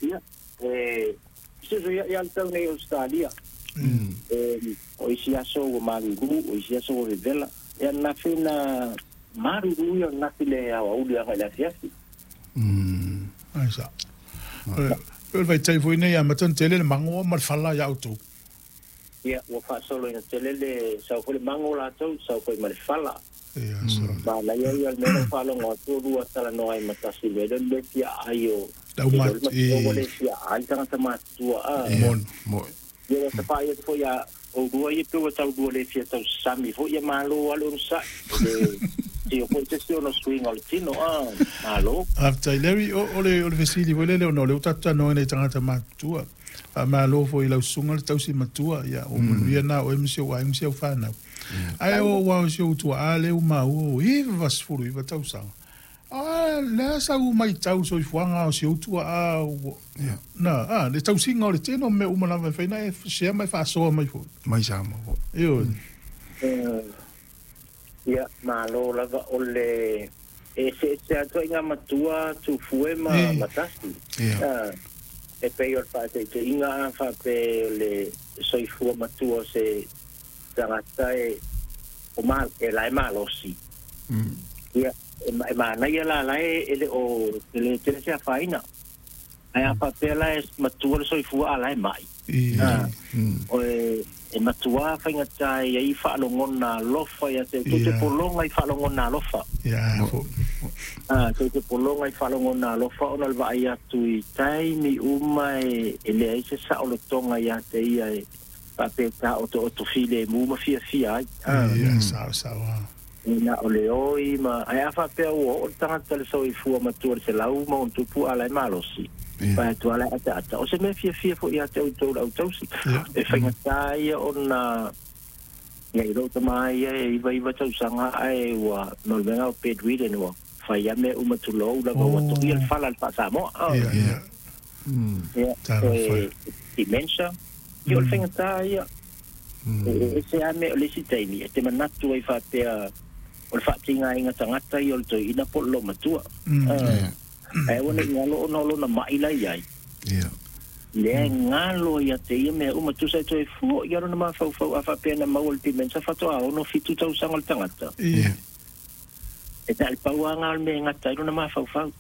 Ia, e fesuisuia'i lava le tau nei i Ausetalia. E, o isi aso ua malulu, o isi aso ua vevela. Ia ananafi na malulu ia o ananafi i le aoauli agai i le afiafi. Ai sa. O le pei o le vaitaimi foi lenei e amata ona tele le mago ma le fala ia outou. Ia, ua faasoloina tele le sau foi le mago latou, sau foi ma le fala. Ia, sa. Manaia ia o le mea lea ua faalogo atu o lua talanoa ai ma tasi i le mea lea o le le fia aai o Lau le mat matua ua le fia aai tagata matutua a. Moni. Moni. Ia ua tapaai atu foi ia oulua ia pei ua tau lua le fia tausami foi ia malo lava le onosai. E le tio foi se isi ona suiga o le tino a. Malo. Faafetai Larry, o, o le, o le fesili foi lele ona o lea ua tatou talanoa ai nei i tagata matutua. Faamalo foi i lau susuga le tausi matua, ia ua manuia na oe ma si ou aiga ma si au fanau. Ae o aua o si ou tuaa lea ua maua ua 99 tausaga. A le a sau matau i le soifuaga o si ou tuaa ua na a le tausiga o le tele o mea uma lava e fai na e share ma e faasoa mai foi. Mai Samoa foi. Ioe. Ia, malo lava o le e eseese lava ituaiga matua tufue ma ma tasi. E pei o le faataitaiga a faapea o le soifua matua o se tagata e o ma e la e malosi. Ia, e manaia la la e le o tele tele se afaina. Ae a faapea la e matua le soifua a la e mai. O e matua faigata e i ai faalogona alofa ia te tou te pologa i faalogona alofa. Ia fo. Tou te pologa i faalogona alofa ona o le vaai atu i taimi uma e leai se saolotoga ia te ia e faapea e taotooto filemu ma fiafia ai. Ia sao sao. Na o le oi ma ae a faapea ua oo le tagata i le soifua matua i le 100+ a la e malosi, vae atu lava la e ataata. O se mea fiafia foi ia te outou le au tausi. E faigata ia ona ia i lou tama ia e 99 tausaga ae ua no le mea lena o bedridden ua fai lava mea uma tulou lava ua toia le fala i le faa-Samoa. Ia, e dementia, ia o le faigata ia. E ese lava mea o le isi taimi e te manatu ai faapea o le faatigaina tagata ia o le toeaina po o le loomatua. Ae aua ne i galo ona o lona mai la i ai. Lea e galo ia te ia mea uma, tusa e toe fua i ai lona mafaufau a faapea na maua le dementia faatoa 6, 7 tausaga o le tagata. E na o le pau lava lena o le mea e gata ai lona mafaufau.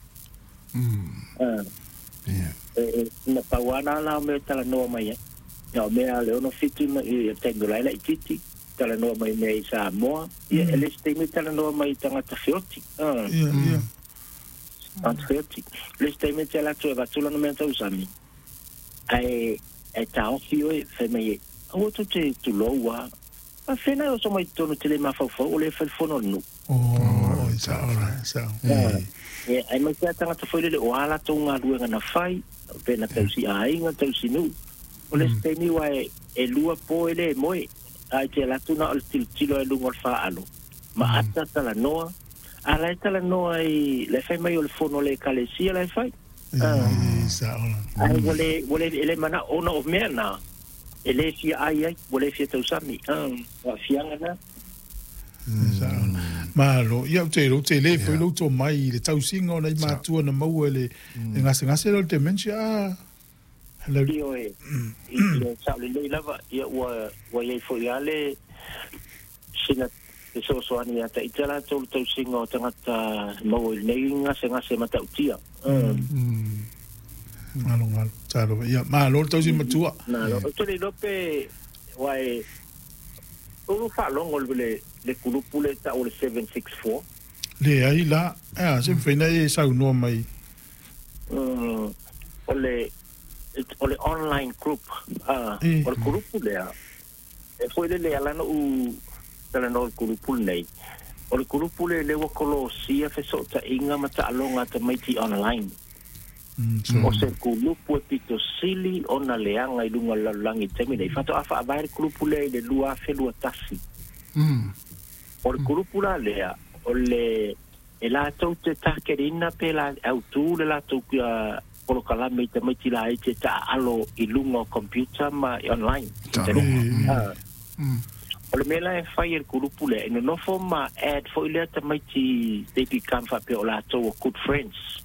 Na pau lava lena la o mea e talanoa mai ai. Na o mea a le 6, 7 i le taimi o la e laitiiti, talanoa mai mea i Samoa. Ia, e le isi taimi e talanoa mai i tagata feoti. Tagata feoti. Le isi taimi e te alu atu e avatu lana mea tausami, ae e taofi oe, fai mai e, aua tou te tulou lava. A fea e oso mai totonu te le mafaufau o lea e fai le fono a le nuu. Oh, sao la, sao. Ia, aemaise lava tagata foi lele o a latou galuega na fai, pe na tausi aiga, tausi nuu. O le isi taimi aua e lua po e le moe, a e te alu atu na o le tilotilo lava i luga o le faalo, ma ata talanoa. A la e talanoa i, la e fai mai o le fono a le Ekalesia la e fai. Sao la. Ae ua le, ua le, e le manao ona o mea na, e le fia ai ai, ua le fia tausami. O aafiaga na. Malo. Ia, ou te iloa, ou te le foi lou tomai i le tausiga o nai matua na maua i le gasegase lea o le dementia. A, lau. Ioe, ia sao lelei lava, ia ua, ua i ai foi lava le sina fesoasoani ia te ita latou le tausiga o tagata maua i lenei gasegase matautia. Galo, galo. Talofa. Ia, malo le tausi matua. Malo. Ou te le iloa pe, aua e, Ua faalogo le kulupu lea e tau o le 764? Leai la. Ae a, se mafai ona e saunoa mai. O le o le online group. O le kulupu lea, e foi lele e ala ona ou talanoa i le kulupu lenei, o le kulupu lea lea ua kolosia fesootaiga ma taaloga a tamaiti online. O se kulupu e pito sili ona leaga i luga o le lalolagi i le taimi nei. Faatoa faavae le kulupu lea i le 2021. O le kulupu la lea, o le e latou te target ina pe la autu le latou polokalame i tamaiti laiti e taaalo i luga o computer ma online, internet. O le mea la e fai e le kulupu lea, e nonofo ma add foi lea tamaiti they become faapea o latou o good friends.